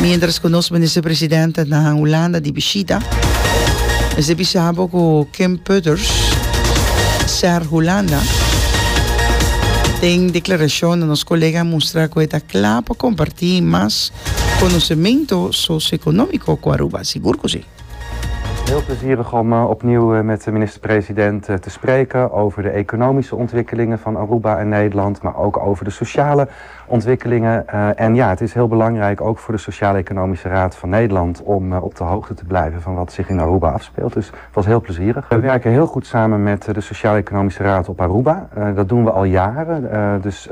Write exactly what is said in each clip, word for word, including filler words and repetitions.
Mientras ku nos minister-presidente na Hulanda di bishita, mester bisa bo ku Kim Putters, SER Hulanda, den deklarashon na nos kolega a mustra ku e ta kla pa kompartí mas konosementu sosioekonómiko ku Aruba. Sigur ku si. Heel plezierig om uh, opnieuw uh, met de minister-president uh, te spreken over de economische ontwikkelingen van Aruba en Nederland, maar ook over de sociale ontwikkelingen. En ja, het is heel belangrijk ook voor de Sociaal-Economische Raad van Nederland om op de hoogte te blijven van wat zich in Aruba afspeelt. Dus het was heel plezierig. We werken heel goed samen met de Sociaal-Economische Raad op Aruba. Dat doen we al jaren. Dus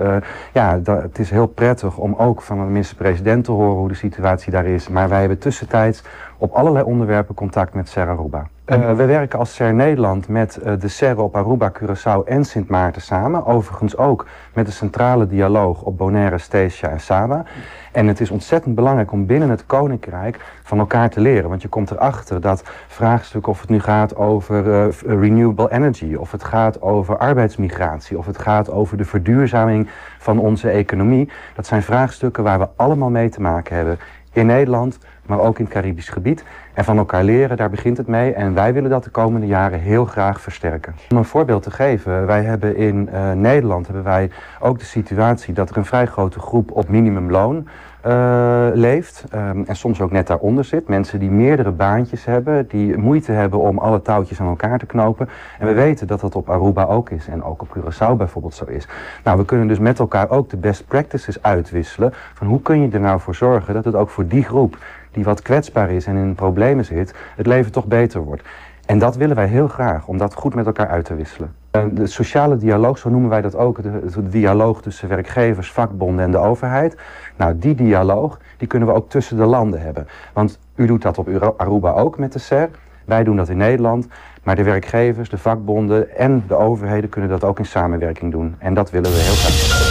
ja, dat, het is heel prettig om ook van de minister-president te horen hoe de situatie daar is. Maar wij hebben tussentijds op allerlei onderwerpen contact met SER Aruba. Uh, we werken als SER Nederland met uh, de SER op Aruba, Curaçao en Sint Maarten samen. Overigens ook met de centrale dialoog op Bonaire, Statia en Saba. En het is ontzettend belangrijk om binnen het Koninkrijk van elkaar te leren. Want je komt erachter dat vraagstukken, of het nu gaat over uh, renewable energy, of het gaat over arbeidsmigratie, of het gaat over de verduurzaming van onze economie, dat zijn vraagstukken waar we allemaal mee te maken hebben. In Nederland, maar ook in het Caribisch gebied. En van elkaar leren, daar begint het mee. En wij willen dat de komende jaren heel graag versterken. Om een voorbeeld te geven, wij hebben in uh, Nederland hebben wij ook de situatie dat er een vrij grote groep op minimumloon uh, leeft. Um, en soms ook net daaronder zit. Mensen die meerdere baantjes hebben, die moeite hebben om alle touwtjes aan elkaar te knopen. En we weten dat dat op Aruba ook is en ook op Curaçao bijvoorbeeld zo is. Nou, we kunnen dus met elkaar ook de best practices uitwisselen. Van hoe kun je er nou voor zorgen dat het ook voor die groep die wat kwetsbaar is en in problemen zit, het leven toch beter wordt. En dat willen wij heel graag, om dat goed met elkaar uit te wisselen. De sociale dialoog, zo noemen wij dat ook, de, de dialoog tussen werkgevers, vakbonden en de overheid. Nou, die dialoog, die kunnen we ook tussen de landen hebben. Want u doet dat op Aruba ook met de SER, wij doen dat in Nederland. Maar de werkgevers, de vakbonden en de overheden kunnen dat ook in samenwerking doen. En dat willen we heel graag.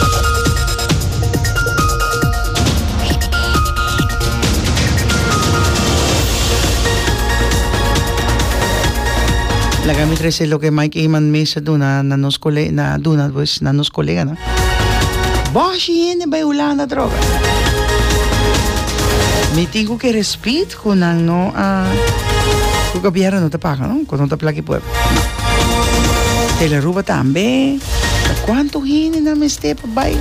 Laga mi trece loke Mike Eman mes a duna na nos cole na duna pues na nos coleganan. Boshi hende bay Hulanda atrobe. Mi tin cu kere speed cu nan no a cu gobierno no ta paga no, cu no ta plaki pueblo. No. Tele Aruba tambe. Ta cuanto hende nan mester pa bay?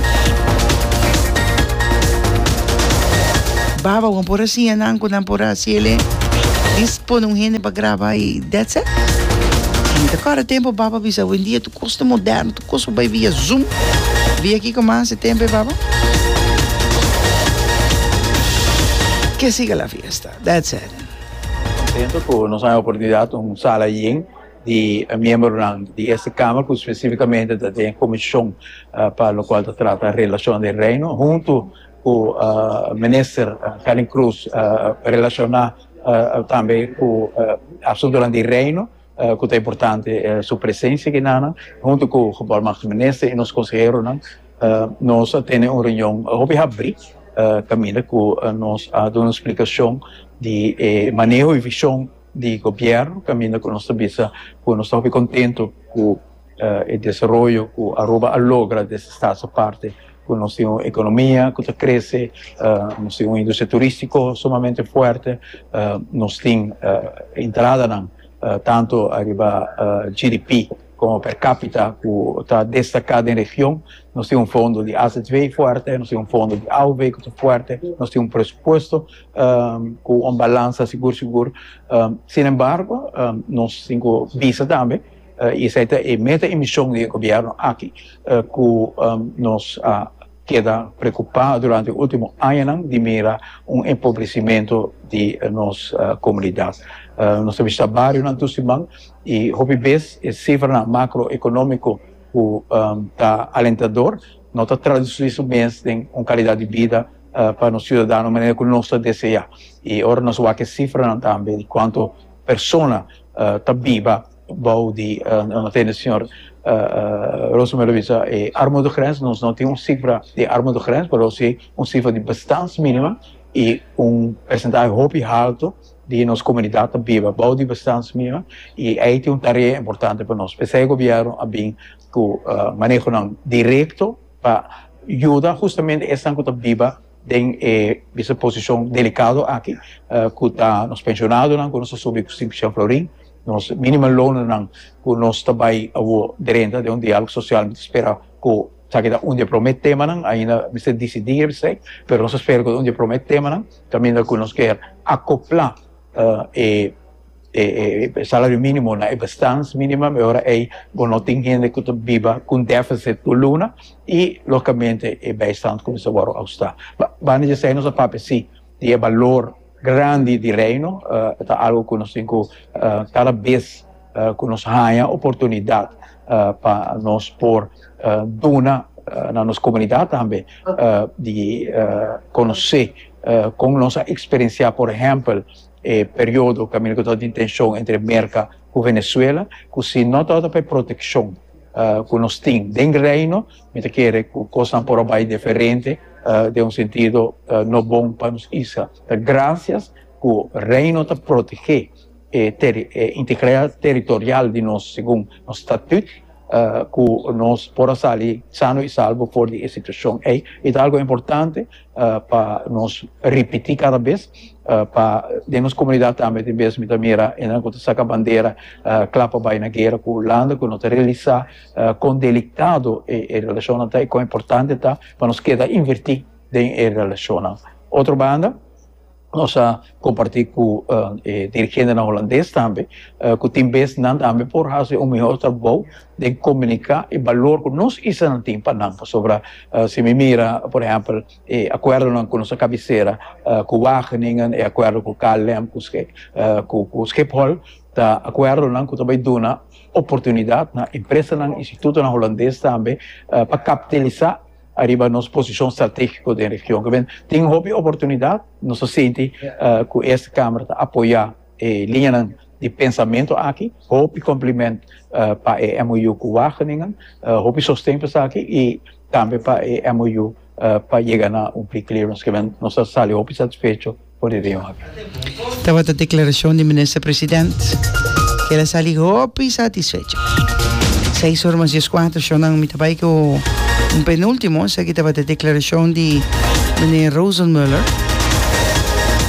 Baba bo por a siña nan cu nan por a haci el dis pone un hende pa graba y that's it. Mi ta kòrda tempo baba bisa awendia tur kos ta moderno, tur kos por bai via zoom, via kiko mas e tempo e baba. Que siga la fiesta, that's it. Contento cu nos a haña oportunidad un sala yen di miembronan di Eerste Kamer cu specificamente ta den comision pa locual ta trata relacion den Reino hunto cu Minister Gerlin Croes relaciona tambe cu asuntonan di Reino cu ta importante su presencia aki hunto cu Gevolmachtigde Minister y nos conseheronan. Nos a tene un reunion hopi habri caminda cu nos a duna un splicacion di e maneho y vision di gobierno, caminda cu nos ta bisa cu nos ta hopi contento cu e desaroyo cu Aruba a logra desde Staats Aparte, cu nos tin un economia cu ta crece, nos tin un industria turistico sumamente fuerte, nos tin entradanan tanto ariba G D P como per capita cu ta destaca den region. Nos tin un fondo di A Z V fuerte, nos tin un fondo di A O V cu ta fuerte, nos tin un presupuesto cu un balansa sigur sigur. Sin embargo, nos tin cu bisa tambe, y esey ta e meta y mision di gobierno aki, cu nos a keda preocupa durante e ultimo añanan di mira un empobrecimento di nos comunidad. Nos a bishita barionan tur siman y hopi bes e cifranan macroeconomico cu ta alentador, no ta traduci su mes den un calidad di vida pa nos ciudadano manera cu nos ta desea. Y ora nos wak e cifranan tambe di cuanto persona ta biba bou di, no tende señor Rosenmöller bisa e armoedegrens, nos no tin un cifra di armoedegrens, pero si un cifra di bestaansminimum y un porcentaje hopi alto di nos comunidad ta biba bou di bestaansminimum, y ahí tin un tarea importante pa nos. P'esei gobierno a bin cu manehonan directo pa yuda justamente esnan cu ta biba Den e bisa posishon delikado aki, uh, ku ta nos penshonadonan, ku nos a subi ku sinku florin, nos minimumloon ku nos ta bai awo drenta den un diálogo sosial, mi ta spera ku esaki ta un di e promé temanan, ainda mester disidí esei, pero nos ta spera ku un di e promé temanan, kaminda ku nos ke akoplá uh, e e, e salario mínimo na e bestaansminimum, e ora ei bo no tin hende ku ta biba ku deficit tur luna i lógikamente e bijstand kuminsá wòrdu ahustá. Banda di esei nos a papia sí di e balor grandi di Reino, uh, ta algu ku nos tin ku uh, kada bes uh, ku nos haña oportunidat uh, pa nos por uh, duna uh, na nos komunidat tambe uh, di uh, konosé uh, kon nos a eksperensiá, por ehèmpel, e periodo kaminda ku tabatin tenshon entre Merka ku Venezuela, ku si no tabata pa protekshon uh, ku nos tin den Reino, mi ta kere ku kosnan por a bai diferente uh, den un sentido uh, no bon pa nos isla. Ta grasias ku Reino ta protehé e teri, e integridat territorial di nos segun nos statuut, uh, ku nos por a sali sano i salvo for di e situashon ei. I ta algu importante uh, pa nos ripití kada bes uh, pa den nos komunidat tambe tin bes mi ta mira e ku ta saka bandera uh, kla pa bai na guera ku Hulanda, ku no ta realisá uh, kon delikado e, e relashon ta i kon importante ta pa nos keda invertí den e relashon. Otro banda, nos a kompartí ku uh, eh, dirigentenan hulandes tambe, uh, ku tin bes nan tambe por hasi un mihó trabou di komuniká e balor ku nos isla tin pa nan sobre uh, si mi mira, por ehèmpel, e akuerdo ku nos kabesera uh, ku Wageningen, e akuerdo ku K L M, ku, uh, ku, ku Schiphol, ta akuerdonan ku tambe ta duna oportunidat na empresanan, institutonan hulandes tambe uh, pa kapitalisá ariba nos posishon stratégiko den region. Ke tin hopi oportunidat, nos ta sinti uh, ku Eerste Kamer ta apoyá e liña di pensamentu aki, hopi kompliment uh, pa e M O U ku Wageningen, uh, hopi sosten pa esaki i tambe pa e M O U uh, pa yega na un pre-clearance ku nos ta sali hopi satisfecho for di e reunion aki. Tabata e deklarashon di minister presidente ku el a sali hopi satisfecho. seis or mas dieskuater, shonnan, mi ta bai ku un penúltimo, esaki tabata e deklarashon di meneer Rosenmuller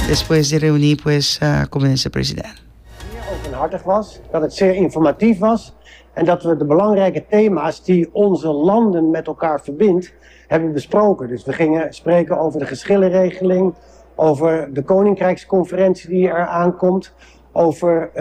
despues di reuní, pues, uh, ku minister presidente. Zeer openhartig was, dat het zeer informatief was en dat we de belangrijke thema's die onze landen met elkaar verbindt, hebben besproken. Dus we gingen spreken over de geschillenregeling, over de Koninkrijksconferentie die er aankomt, over het